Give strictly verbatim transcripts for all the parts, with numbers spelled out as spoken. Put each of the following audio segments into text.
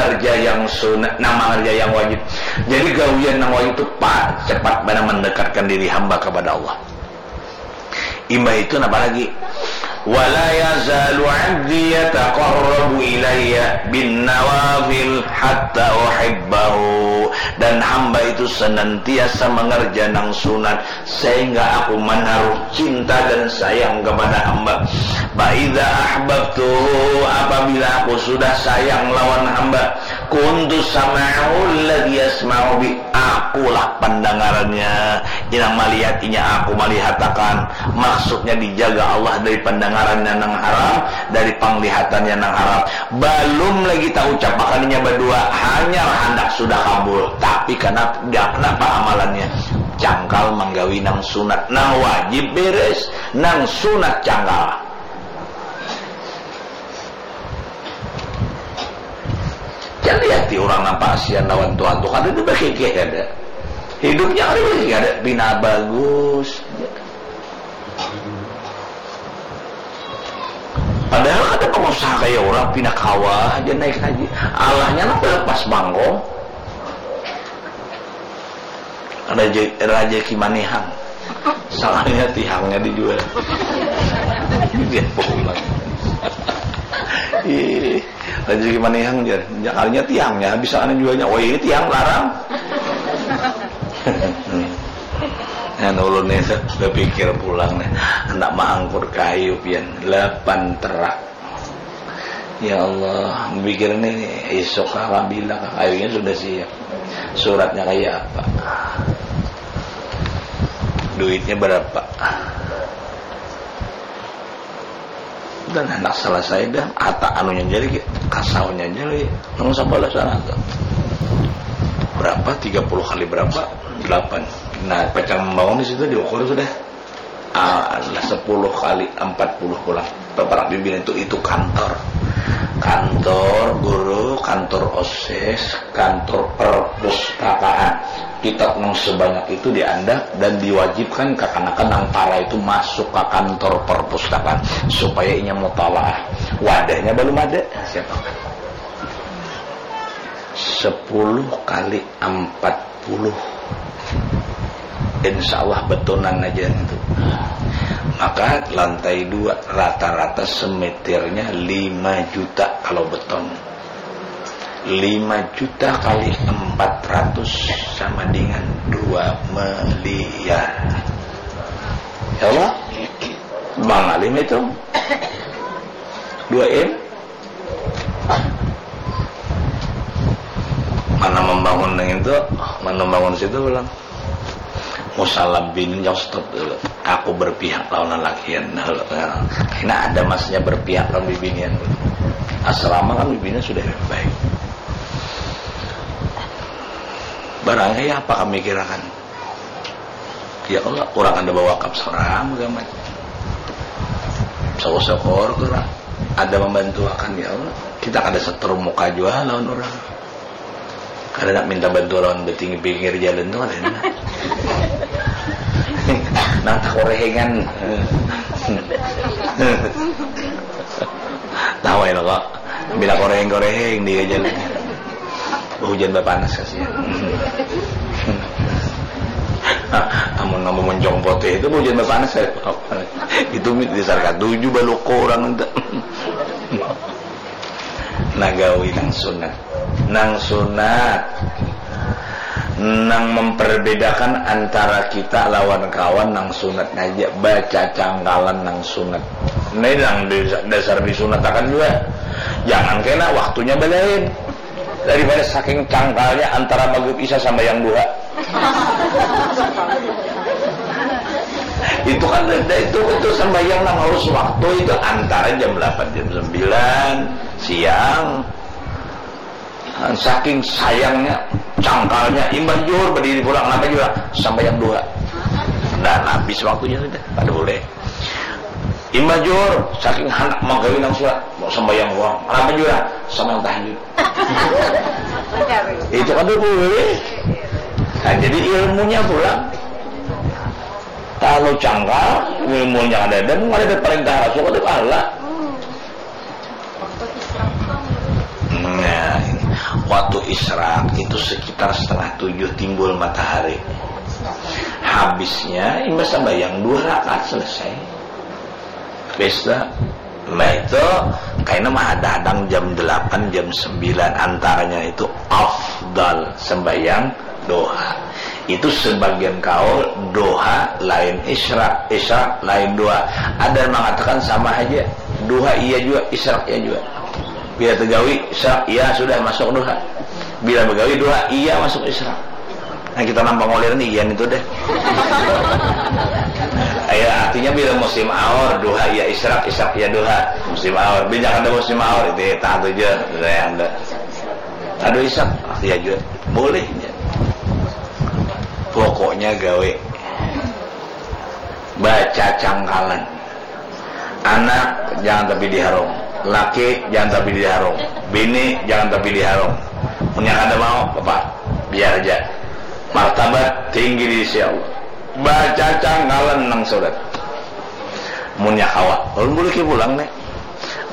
mangerja yang sunat, nang mangerja yang wajib. Jadi gawian nang wajib tu pa, cepat banar mendekatkan diri hamba kepada Allah. Imbah itu napa lagi? Wala yazalu abdi yataqarrabu ilayya bin nawafil hatta uhibbahu. Dan hamba itu senantiasa mengerja nang sunat sehingga aku menaruh cinta dan sayang kepada hamba. Fa idza ahbabtuhu, apabila aku sudah sayang lawan hamba, kuntu sam'ahu alladzi yasma'u bi, akulah pandangarannya, inang malihat inya aku malihatakan. Maksudnya dijaga Allah dari pandangarannya nang haram, dari panglihatannya nang haram. Balum lagi taucapakan inya badua, hanyar handak sudah kabul. Tapi kanapa, kanapa amalannya? Cangkal manggawi nang sunat, nang wajib beres, nang sunat cangkal. Jangan lihati orang nang pasian lawan Tuhan tu, kada ada bakikih ada. Hidupnya kada bakikih ada, pina bagus. Padahal kada pengusaha kaya orang, pina kawa aja naik haji. Allahnya nang pas bangkong. Raja, Raja Kimanihang. Salahnya tihangnya dijual. Dia pulang. Ih, Raja Kimanihang jar. Jakalnya tihangnya habis sana jualnya. Oh, ini tihang larang. Nah, ulun nih bapikir pulang nih, handak maangkut kayu pian, lapan terak. Ya Allah, mikir nih, isuk kah, bila kah, kayunya sudah siap. Suratnya kayak apa? Duitnya berapa? Dan handak selesai dah, ata anunya jadi, kasaunya jadi, nang sebelah sana tuh. Berapa? Tiga puluh kali berapa? Delapan. Nah, pacang membangun di situ diukur sudah. Ah, adalah sepuluh kali empat puluh pulang. Baparak bimbingan itu, itu kantor. Kantor guru, kantor osis, kantor perpustakaan. Kitab nang sebanyak itu diandak dan diwajibkan kakanakan nang para itu masuk ke kantor perpustakaan supaya inya mutalaah. Wadahnya belum ada. Siapa? Sepuluh kali empat puluh. Insya Allah betonan aja itu. Maka lantai dua rata-rata semeternya lima juta kalau beton. Lima juta kali empat ratus sama dengan dua miliar. Ya Allah, Bang Alim itu dua M. Mana membangun yang itu, mana membangun situ pulang. Musalabin yang stop dulu. Aku berpihak lawan lalakian. Nah, karena ada masnya berpihak lawan bibinian. Asrama kan bibinian sudah baik. Barangnya apa kami kirakan? Ya Allah, orang ada bawa wakaf seorang gamat. Syukur-syukur kurang ada membantu akan, ya Allah. Kita kada seterumuka jua lawan orang. Kada nak minta bantu lawan betinggi pinggir jalan tu kada enak. Nang takorehengan. Tahu ya kok. Bila koreheng-koreheng di jalan. Hujan bapanas kasihan. Amun kamu mencong potih itu hujan bapanas ya. Itu di sarkat tujuh baloko orang itu. Nagawi nang sunat. Nang sunat. Nang memperbedakan antara kita lawan kawan nang sunat aja, baca cangkalan nang sunat. Nah, ini nang dasar disunatakan juga. Jangan kena waktunya belain. Daripada saking cangkalnya antara maghrib isya sambayang duha. Itu kan beda itu, itu sambayang nang harus waktu itu antara jam delapan jam sembilan siang. Saking sayangnya, cangkalnya, imbah juhur berdiri pulang, kenapa juga sambayang duha. Dan habis waktunya sudah, pada boleh. Imbah juhur, saking handak manggawi nang surat, mau sambayang pulang, kenapa juga sambayang tahajud. Itu kada boleh. Nah, jadi ilmunya pulang. Kalau cangkal, ilmunya ada dan ada perintah Rasul, ada pahala. Nah, Isyraq itu sekitar setengah tujuh timbul matahari. Habisnya imbah sambayang dua rakaat selesai. Pesta. Nah itu kaina mahadang-hadang jam delapan, jam sembilan, antaranya itu afdal sembahyang doha. Itu sebagian kaul doha lain isyraq, isyraq lain doha. Ada yang mengatakan sama aja, doha iya juga, isyraq iya juga. Bila tegawi isyraq iya sudah masuk doha, bila begawi doha iya masuk isyraq. Nah kita nampak ngolir nih iyan itu deh. Ya artinya bila musim aur doha iya isyraq, isyraq iya doha. Musim aur, bila kada musim aur itu tahan tujuh yang ada. Aduh isap, ah, ya juga boleh ya. Pokoknya gawe baca cangkalan. Anak jangan tapi diharung, laki jangan tapi diharung, bini jangan tapi diharung. Punya kada mau, bapak biar aja. Martabat tinggi di sisi Allah. Baca cangkalan nang surat. Munnya kawa, ulun boleh pulang nih.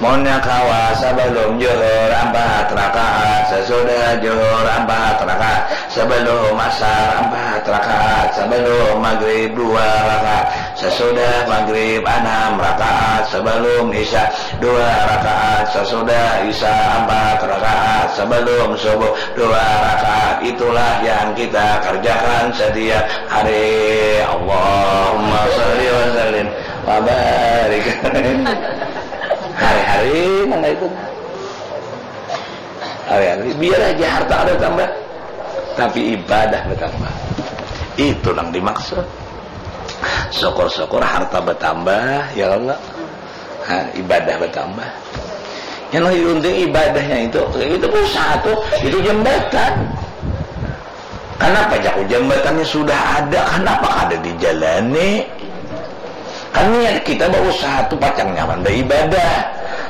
Munnya kawa sabalum juhur ampat rakaat, sasudah juhur ampat rakaat, sabalum asar ampat rakaat, sabalum magrib dua rakaat, sasudah magrib anam rakaat, sabalum isya dua rakaat, sasudah isya ampat rakaat, sabalum subuh dua rakaat. Itulah yang kita kerjakan setiap hari. Allahumma shalli wa sallim wa barik. Hari-hari nang itu. Hari-hari biar aja harta ada tambah, tapi ibadah bertambah. Itu nang dimaksud. Syukur-syukur harta bertambah, ya Allah. Ha, ibadah bertambah. Yang lebih penting ibadahnya itu, itu usaha tuh, itu jambatan. Kenapa jaku jambatannya sudah ada, kenapa kada dijalani? Kan niat kita berusaha tuh pacang nyaman beribadah.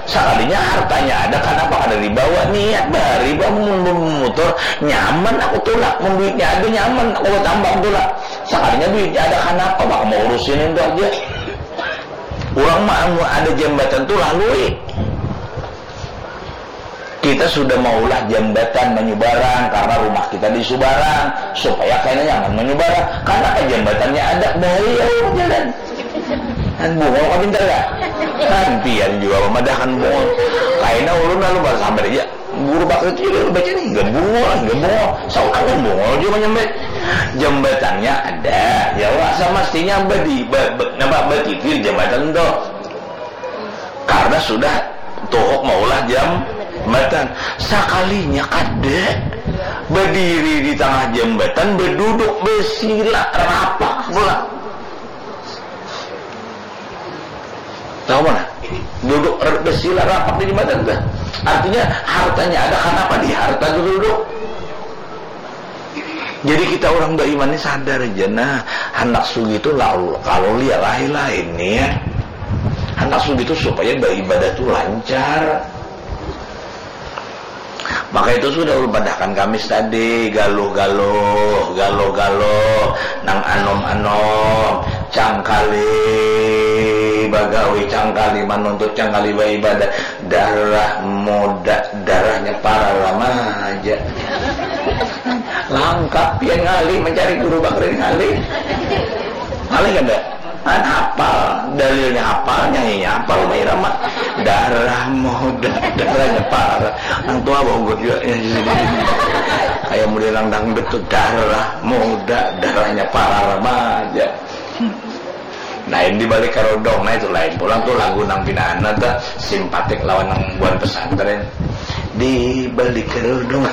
Sekalinya hartanya ada, kenapa kada dibawa? Niat bahari bah mun memutur nyaman aku tulak, mun duitnya ada nyaman aku bertambah tulak. Sekalinya duitnya ada, kenapa bah mau urusin itu aja? Urang mah anu ada jambatan tu lalui. Kita sudah maulah jambatan manyubarang karena rumah kita di subarang supaya kena nyaman manyubarang. Karena apa jambatannya ada bahaya urang jalan. Kan bungul kah pintar kah? Kan pian jua mamadahkan bungul. Kaina ulun lalu basambat aja. Guru bakri tu jua baca ni, hingga bungul, hingga bungul. Saurang kan bungul jua manyambat. Jambatannya ada, ya wah, samastinya badi, ba, ba, napa, batiti di jambatan tu. Karena sudah tuhuk maulah jambatan. Sakalinya kada badiri di tangah jambatan, baduduk basila rapak pulang. Tahu mana? Duduk r-, basila rapak di jembatan tu. Artinya hartanya ada, kenapa di harta tu duduk? Jadi kita orang beriman ni sadar aja nah, handak sugih tu lalu kalau lihat lain-lain ni ya. Handak sugih tu supaya beribadah tu lancar. Maka itu sudah ulun padahkan Kamis tadi, galuh-galuh, galuh-galuh, nang anom-anom, cangkali bagawi, cangkali manuntut, cangkali baibadah, darah muda, darahnya para remaja. Langkap pian ngalih mencari guru bakri ngalih. Ngalih kada? Kan hapal, dalilnya hapal, nyanyinya hapal, Rhoma Irama. Darah muda, darahnya para. Nang tua baugut jua. Kayak model nang dangdut tu, darah muda, darahnya para remaja. Lain di balik kerudung, nah itu lain pulang tu lagu nang pina anu tu, simpatik lawan nang buhan pesantren. Di balik kerudung,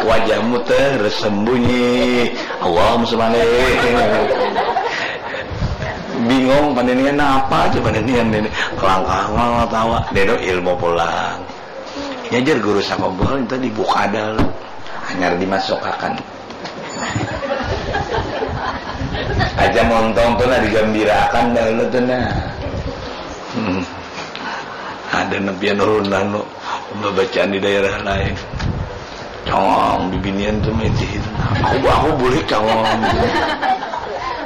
wajahmu tersembunyi. Allahumma sholli. Bingung paninian napa aja paninian ini. Langkah ngol tawa, dedo ilmu pulang. Nyajar guru sakompol itu dibuka dahulu. Hanyar dimasukakan. Aja montong tu nah digambirakan dahulu tu nah. Hmm. Ada nepian ulun anu. Babacaan di daerah lain. Cangong, bibinian tu maitih itu. Aku, aku bulik cangong.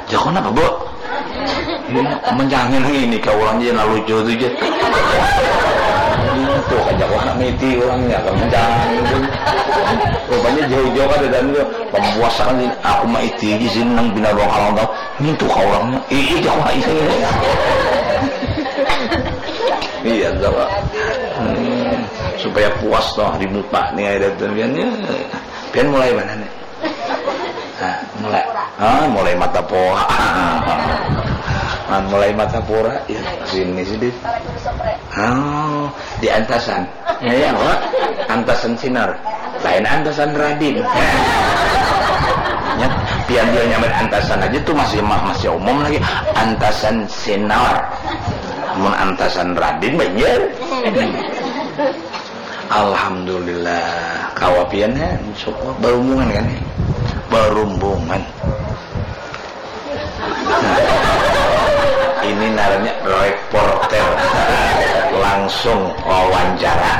Jaku napa, Bu? Ini mencangin ini ka urang ja nang lucu tu ja. Itu ka jaku anak maitih urangnya ka mencangin tu. Rupanya jauh-jauh kada dan tu pempuasa kan ini, aku mah iti aja sih nang bina ruang alam tau. Mintu ka orangnya. Ih, ih, aku mah iti. Iya, coba. Hmm, supaya puas toh di muka nih ada tuh pian. Ya. Pian mulai mana nih? Nah, mulai. Ah, mulai mata poha. Ah, mulai mata pura. Ya, sini sedikit. Ah, di antasan. Ya, ya, Pak. Antasan sinar. Lain antasan radin. Ya, pian dia nyambat antasan aja tuh masih ma- masih umum lagi. Antasan sinar. Mun antasan radin banjir. Alhamdulillah. Kawa pian ya, syukur. Barumbungan kan ya? Barumbungan. Ini ngarannya reporter langsung wawancara.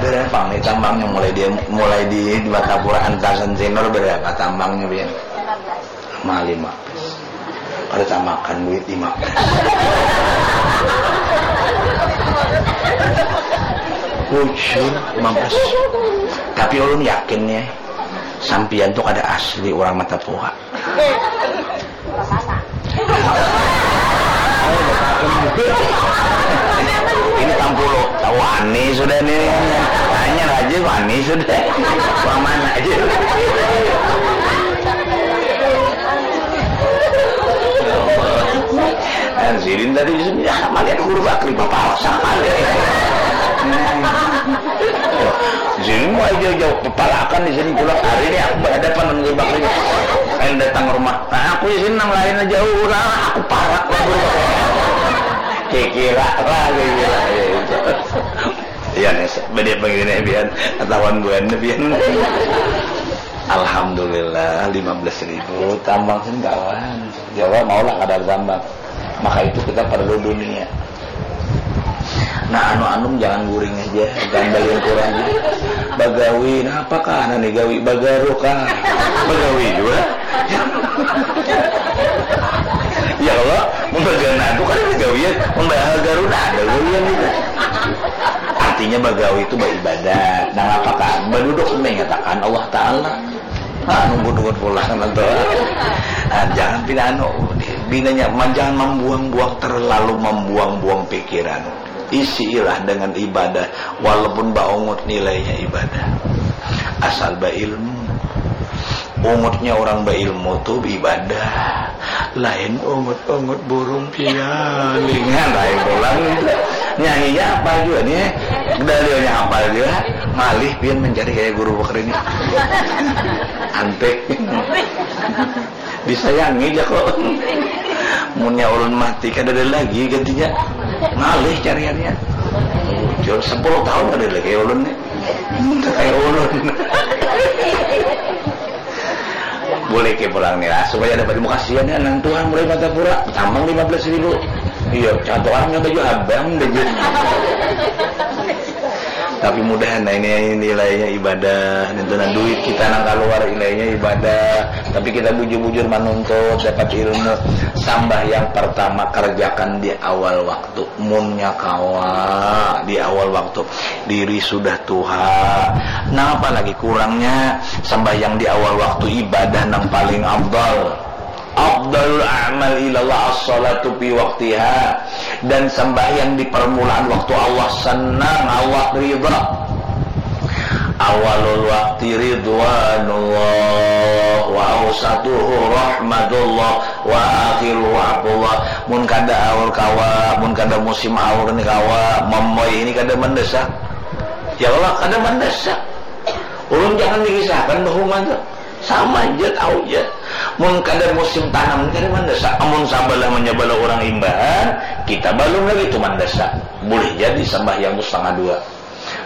Berapa nih tambangnya mulai dia mulai di Batapura antasan senior berapa tambangnya pian? Mah lima belas. Ada tamakan duit lima belas. Bujur lima belas. Tapi ulun yakin ya, sampian tuh kada asli orang mata poha. Ini tampulu, wani sudah nih. Tanya aja wani sudah. Orang mana aja. Dan sidin tadi bisa ya malihat guru bakri bapak sama. Jadi mau aja jauh kepalakan di sini pulang hari ini aku berhadapan dengan guru bakri. Saya datang ke rumah. Nah, aku di sini nang lain aja ulah aku parak lah guru bakri. Kira lah kira. Ya nih, beda begini biar ketahuan buan biar. Alhamdulillah lima belas ribu tambang sih kawan. Jawa mau lah kada tambang. Maka itu kita perlu dunia. Nah, anu-anum jangan guring aja, jangan balian kurang aja. Bagawi, nah apakah anak nih gawi? Bagaru kah? Bagawi juga. Ya kalau membagawi itu kan ada gawian, membagaru nah ada gawian itu. Artinya bagawi itu beribadah. Nah, apakah berduduk mengatakan Allah Ta'ala? Ah, nunggu-nunggu pulang nanti. Ah, jangan pina anu, binanya jangan membuang-buang terlalu membuang-buang pikiran. Isilah dengan ibadah, walaupun baungut nilainya ibadah. Asal berilmu. Ungutnya orang berilmu tuh ibadah. Lain ungut-ungut burung pialingan lain pulang itu. Nyanyinya apa juga nih? Dalilnya apa juga? Malih pian mencari kayak guru bakar ini. Antik. Disayangi ja kok. Munnya ulun mati kada ada lagi gantinya. Ngalih cariannya. Bujur sepuluh tahun kada ada lagi ulun nih. Kayak ulun. Boleh ke pulang nih lah supaya dapat ilmu kasihan ya nang tuan mulai mata pura tambang lima belas ribu. Iya, contoh orang yang baju abang baju. Tapi mudahan nah ini nilainya ibadah, dan duit kita nang keluar nilainya ibadah. Tapi kita bujur-bujur menuntut dapat ilmu. Sambah yang pertama kerjakan di awal waktu. Munnya kawa di awal waktu diri sudah tuha. Napa lagi kurangnya sembahyang di awal waktu ibadah nang paling afdal. Afdalul a'mal ilallah as-salatu fi waqtiha. Dan sembahyang di permulaan waktu Allah senang, Allah ridha. Awalul waktu ridwanullah wa ausatuhu rahmatullah wa akhiru wa'fullah. Mun kada aur kawa, mun kada musim aur ni kawa, mamoi ini kada mendesak. Ya Allah, kada mendesak. Ulun jangan dikisahkan bahuman tu. Sama aja tahu aja. Mun kada musim tanam kada mendesak. Amun sabalah menyabala orang imbahan, kita balum lagi tu mendesak. Boleh jadi sambahyang tu setengah dua.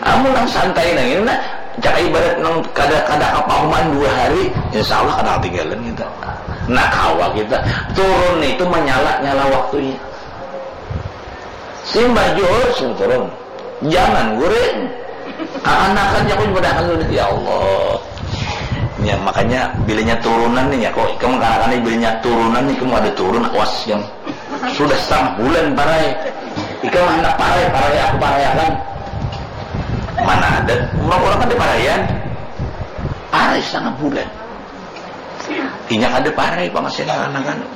Amun nang santai nang ini nah, cak ibarat nang kada kada kapahuman dua hari, insya Allah kada ketinggalan kita. Nah kawa kita turun itu menyala nyala waktunya. Simbah juhur sudah turun, jangan guring. Kakanakan aku ibadah sudah ya Allah. Ya makanya bilanya turunan nih ya kok kamu kanakan bilanya turunan nih kamu ada turun awas yang sudah setengah bulan parai. Ikam hendak parai, parai aku paraiakan. Mana ada orang-orang kan diparaian. setengah bulan. Inya kada parai pangasihan anak-anak.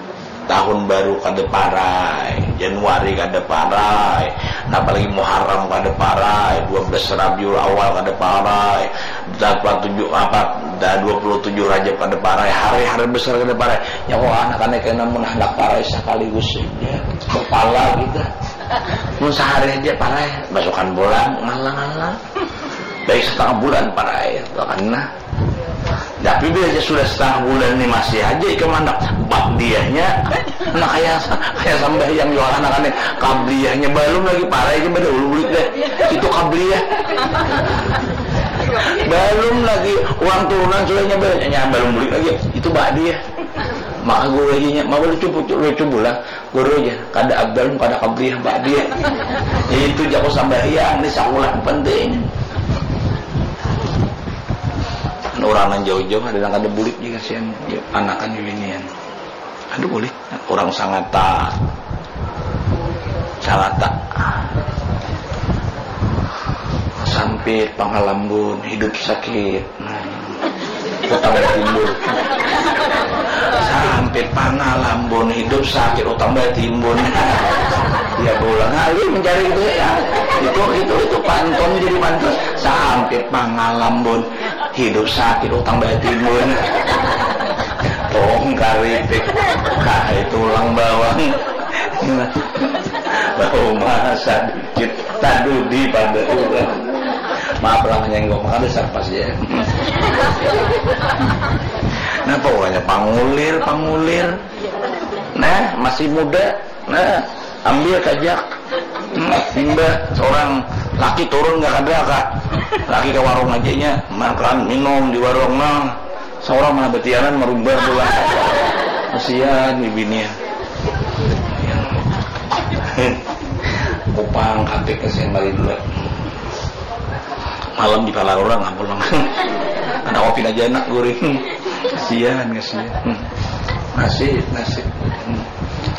Tahun baru kada parai, Januari kada parai, nah, apalagi Muharram kada parai, dua belas Rabiul Awal kada parai, dapat tujuh apa, dah dua puluh tujuh Rajab kada parai, hari-hari besar kada parai. Ya kok anak-anak kena mun handak parai sekaligus saja, kepala kita. Mun sehari aja parai, basukan bola ngalang-ngalang. Baik setengah bulan parai, karena tapi bila aja sudah setengah bulan ni masih aja ikam handak ba'diyahnya, nah, kayak kayak sambahyang jua anak-anak ni, qabliyahnya balum lagi, parai aja pada ulu bulik deh. Itu qabliyah. Balum lagi uang turunan sudah nyambai, nya balum bulik lagi. Itu ba'diyah. Maka guru aja nya, mau lucu lucu pulang. Guru ja, kada abdal, kada qabliyah, ba'diyah. Itu jaku sambahyang ni sakulah penting. Urang nang jauh-jauh ada nang kada bulik jua kasihan, anakan bibinian. Kada bulik, urang Sangata. Sangata. Sampit, Pangalambun, hidup sakit. Nah, utang batimbun. Sampai Pangalambun, hidup sakit, utang batimbun. Ya, bola ngalih mencari itu ya. Itu, itu, itu pantun, jadi pantun. Sampai Pangalambun, hidup sakit, utang batimbun. Tong karipik, kai tulang bawang. Bau masak. Cit, tadudi pada urang. Maaf lah, menyenggol, maka dasar pas ya. Napa urangnya pangulir, pangulir. Nah, masih muda. Nah, ambil kajak. Hmm, imbah seorang laki turun nggak ada, Kak. Laki ke warung aja nya, makan, minum di warung, nah. Seorang mana betianan merubah pula. Kasihan bibinian. Kupang katik kasihan bari dua. Malam di palar orang, ah, pulang. Ada kopi aja anak guring. Kasihan, kasihan. Hmm. Nasib, nasib. Hmm.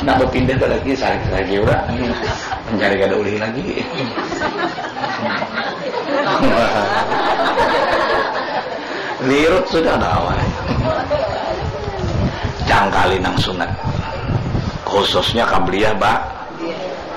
Nak berpindah ke lagi, sakit lagi orang. Hmm. Mencari kada ulih lagi. Lirut sudah ada awal. Jangkali nang sunat. Khususnya qabliyah ba